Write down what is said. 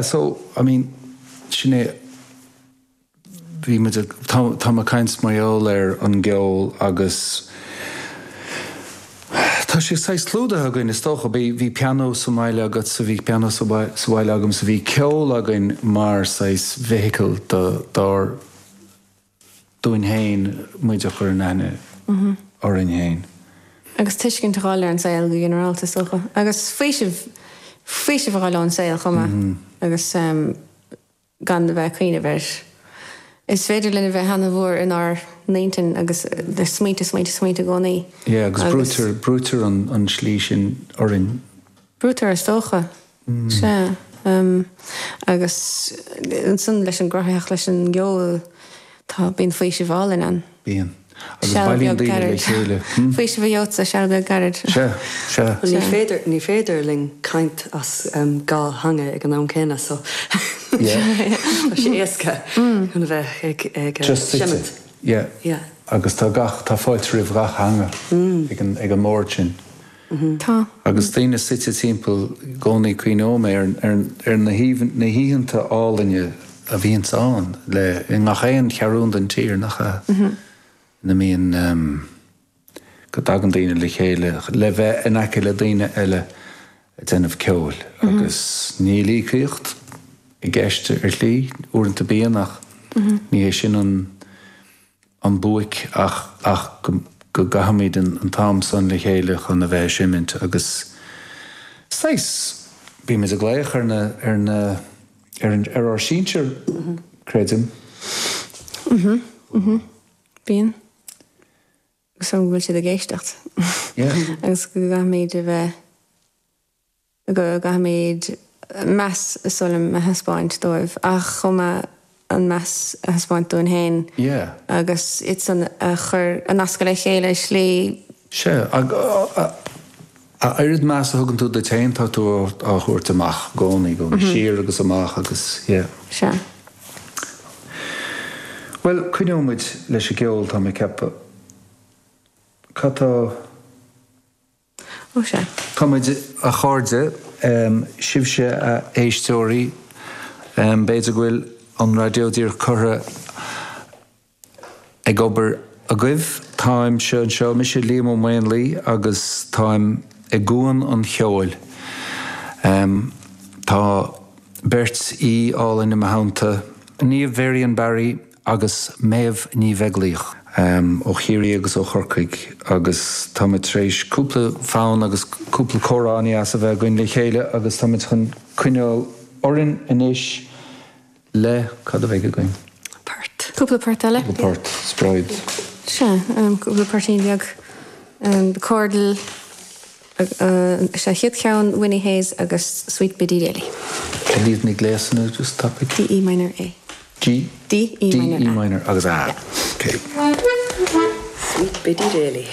So, I mean, sin é, bhí muid ag, tá, tá mé ag caint mar gheall ar an gceol agus tá sé saghas clúdaithe againn is dócha. Bhí, bhí pianó sa mbaile agatsa, bhí pianó sa sa bhaile agamsa, bhí ceol againn mar saghas vehicle do, dár, dúinn féin muid a chur in aithne orainn féin. Agus tuiscint a fháil ar an saol go ginearálta, is dócha. Agus faoiseamh, faoiseamh a fháil ón saol chomh maith agus gan a bheith ag cuimhneamh air. Is féidir linn a bheith ana-mhór inár n-intinn agus smaointe, smaointe, smaointe i gcónaí. Yeah, agus brúitear, brúitear an tslí sin orainn. Brúitear is dócha. Sea. Agus ansan leis an gcruthaitheacht, leis an gceol, tá, bíonn faoiseamh álainn ann. Bíonn. Agus Seal bailíonn beag daoine le gairid. chéile. Faoiseamh a gheobhadsa, seal beag gairid. Sea, sea. Ní Sea. féidir, ní féidir linn caint as dhá theanga ag an am céanna so Yeah. tá sé éasca chun a bheith ag, ag Just suite. seimint. Yeah. Yeah. Agus tá gach, tá fáilte roimh gach theanga ag an, ag an mbord sin. Tá. Agus daoine suite timpeall i gcónaí cuimhneoidh mé ar na hoícheanta álainne a bhíonns ann le i ngach aon cheathrún den tír, nach ea? Ina mbíonn, go dtagann daoine le chéile le bheith in aice le daoine eile ag déanamh ceoil agus níl íocaíocht i gceist ar shlí, uaireanta bíonn ach ní hé sin an. an buaic ach ach go go gcaithfimid an t-am san le chéile chun a bheith ag seimint agus saghas bímid ag glaoch ar na ar na ar an ar ár sinsir creidim. Mhm mhm bíonn agus go bhfuil siad ag éisteacht Yeah. agus go gcaithfimid a bheith go gcaithfimid meas is dóigh liom a thaispeáint dóibh ach chomh maith an meas a thaispeáint dúinn féin Yeah. agus iad san a chur, a nascadh le chéile i slí. Sea, a oiread meas a thugann tú duit féin tá tú á thabhairt amach i gcónaí, i gcónaí, siar agus amach agus yeah. Sea. Bhuel, coinneoidh muid leis an gceol, tá mé ag ceapadh. Cad tá. Ó sea. Tá muid, a chairde, sibhse a éisteoirí, b'fhéidir go bhfuil an raidió díreach curtha ag obair agaibh. Táimse anseo, mise Liam Ó Maonlaí agus táim i gCuan an Cheoil. Tá beirt aoi álainn i mo theannta, Niamh Varian Barry agus Méabh Ní Bheaglaoich, ó Chiarraí agus ó Chorcaigh, agus táimid tar éis cúpla fonn agus cúpla comhrá an-deas a bheith againn le chéile agus táimid chun coinneáil orainn anois le, cad a bheidh againn? Port. Cúpla port eile. Cúpla port, spreid. Sea, cúpla poirtín beag. The Cordle. Is é an chéad cheann Winnie Hayes agus Sweet Biddy Daly. Cad iad na gléasanna just tapaidh? D E minor A. G? D E D minor E A. minor agus A. Yeah. Ok. Sweet Biddy Daly.